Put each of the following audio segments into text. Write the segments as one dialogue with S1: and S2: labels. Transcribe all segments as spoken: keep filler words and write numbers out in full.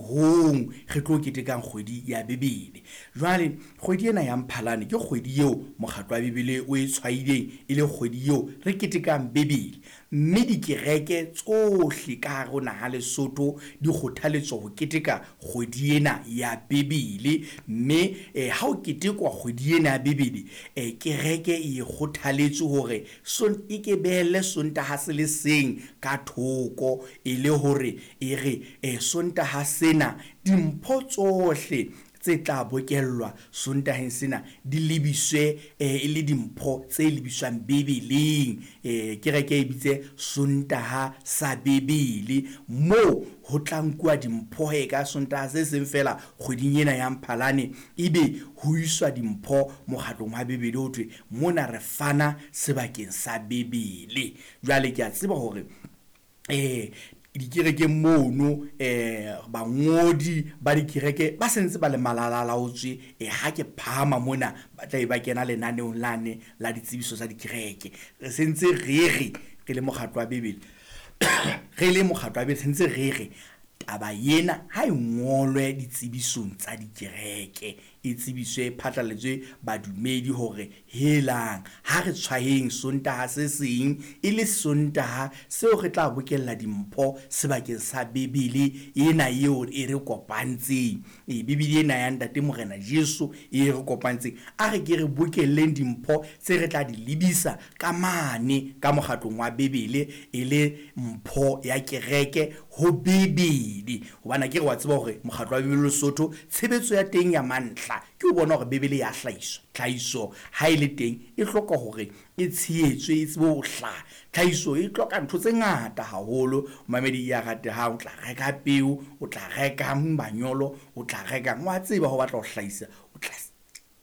S1: robong re tlo ketekang kgwedi ya Bibele. Jwale kgwedi ena ya Mphalane ke kgwedi eo mokgatlo wa Bibele o e tshwaileng e le kgwedi eo re ketekang Bibele, mme dikereke tsohle ka hare ho naha Lesotho di kgothaletswa ho keteka kgwedi ena ya Bibele. Mme eh, ha o ketekwa kgwedi ena ya Bibele, eh, kereke e kgothaletswe hore son e ke behelle Sontaha se le seng ka thoko, e le hore e re eh, Sontaha sena dimpho tsohle tse tla bokellwa Sontaheng sena di lebiswe eh, e le dimpho tse lebiswang Bibeleng. eh, Kereke e bitse Sontaha sa Bibele, moo ho tla nkuwa dimpho he ka Sontaha se seng fela kgweding ena ya Mphalane, ebe ho iswa dimpho mokgatlong wa Bibele, ho thwe mona re fana sebakeng sa Bibele. Jwale ke a tseba hore eh dikerekeng mono eh bangodi ba dikereke ba sentse ba le malalalaotswe, eh ha ke phahama mona ba tla be ba kena lenaneong lane la ditsebiso tsa dikereke. Re sentse re re re le mokgatlo wa Bibele re le mokgatlo wa Bibele sentse re re taba ena ha e ngolwe ditsebisong tsa dikereke, e tsebiswe phatlaletswe badumedi hore helang ha re tshwaheng Sontaha se seng e le Sontaha seo re tla bokella dimpho sebakeng sa Bibele ena eo e re kopantseng, e Bibele ena ya Ntate Morena Jesu e re kopantseng. A re ke re bokelleng dimpho tse re tla di lebisa ka mane ka mokgatlong wa Bibele e le mpho ya kereke ho Bibele, hobane ke re wa tseba hore mokgatlo wa Bibele Lesotho tshebetso ya teng ya mantlha ke ho bona hore Bibele ya hlahiswa. Tlhahiso ha e le teng e hloka hore e tshehetswe, e tsebe ho hlaha. Tlhahiso e hloka ntho tse ngata haholo, mamedi ya ratehang. O tla reka peo, o tla reka manyolo, o tla reka, wa tseba ho batla ho hlahisa, o tla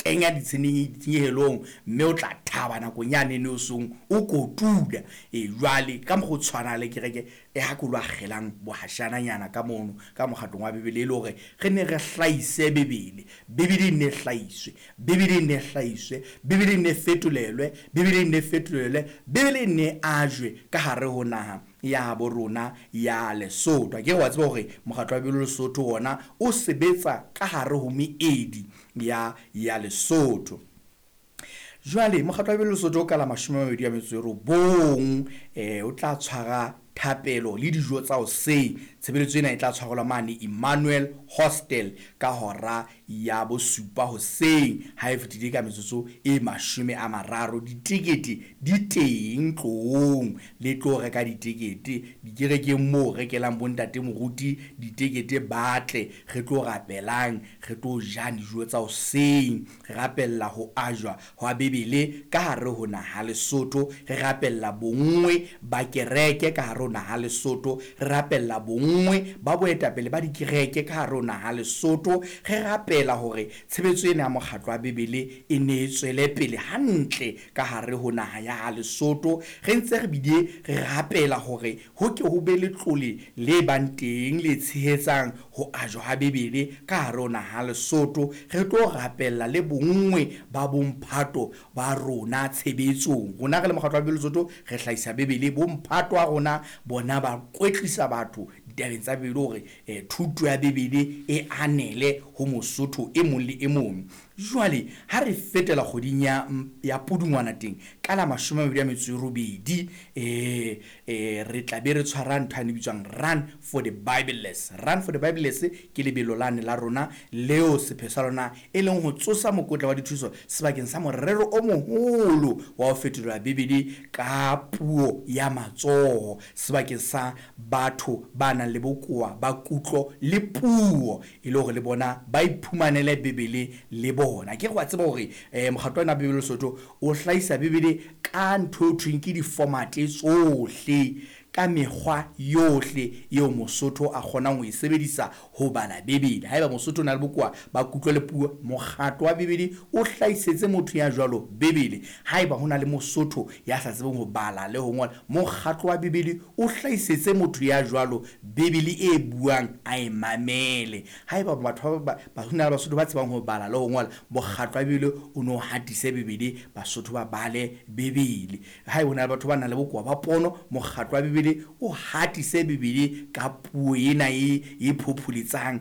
S1: kenya ditshenyehelong, mme o tla thaba nakong yane ne o song o kotula. E jwale ka mokgwa o tshwana le kereke e ha ke lo akgelang bohashananyana ka mono ka mokgatlong wa Bibele, e le hore re ne re hlahise Bibele. Bibele e ne hlahiswe, Bibele e ne hlahiswe, Bibele e ne fetolelwe, Bibele e ne fetolelwe, Bibele e ne ajwe ka hare ho naha ya bo rona ya Lesotho. Ke re wa tseba hore mokgatlo wa Bibele Lesotho wona o sebetsa ka hare ho meedi ya ya Lesotho. Jwale mokgatlo wa Bibele Lesotho o ka la mashome a mabedi a metso e robong eh o tla tshwara thapelo le dijo tsa hoseng. Tshebeletso ena e tla tshwarelwa mane Emmanuel Hostel ka hora ya bosupa hoseng ha e fetile ka metsotso e mashome a mararo. Ditekete di teng, tloong le tlo reka ditekete dikerekeng moo rekelang bontate moruti ditekete, batle re tlo rapelang, re tlo jang dijo tsa hoseng, re rapella ho ajwa hwa Bibele ka hare ho naha Lesotho, re rapella bonngwe ba kereke ka hare ho naha Lesotho, re rapella bonngwe ba boetapele ba dikereke ka hare ho naha Lesotho, re rapela hore tshebetso ena ya mokgatlo wa Bibele e ne e tswele pele hantle ka hare ho naha ya Lesotho. Re ntse re bile re rapela hore ho ke ho be letlole le bang teng le tshehetsang ho ajwa ha Bibele ka hare ho naha Lesotho. Re tlo rapella le bonngwe ba bomphato ba rona tshebetsong. Rona re le mokgatlo wa Bibele Lesotho re hlahisa Bibele, bomphato wa rona bona ba kwetlisa batho ditabeng tsa Bibele hore eh, thuto ya Bibele e anele ho Mosotho e mong le e mong. Jwale ha re fetela kgweding ya ya Pudungwana teng ka la mashome a mabedi a metso e robedi, eh eh re tla be re tshwara ntho e bitswang Run for the Bibleless. Run for the Bibleless ke lebelo lane la rona leo sepheo sa lona e leng ho tsosa mokotla wa dithuso sebakeng sa morero o moholo wa ho fetolela Bibele ka puo ya matsoho sebakeng sa batho ba nang le bokowa ba kutlo le puo, e le hore le bona ba iphumanele Bibele le bona. Ke re wa tseba hore eh mokgatlo wa Bibele Lesotho o hlahisa Bibele ka ntho e thweng ke di-format tsohle, ka mekgwa yohle eo Mosotho a kgonang ho e sebedisa ho bala Bibele. Haeba Mosotho o na le bokowa ba kutlo le puo, mokgatlo wa Bibele o hlahisetse motho ya jwalo Bibele. Haeba ho na le Mosotho ya sa tsebeng ho bala le ho ngola, mokgatlo wa Bibele o hlahisetse motho ya jwalo Bibele e buang a e mamele. Haeba batho ba ba ho na le Basotho ba tsebang ho bala le ho ngola, mokgatlo wa Bibele o no hatise Bibele, Basotho ba bale Bibele. Haeba ho na le batho ba nang le bokowa ba pono, mokgatlo wa Bibele o hatise Bibele ka puo ena e e phopholetsang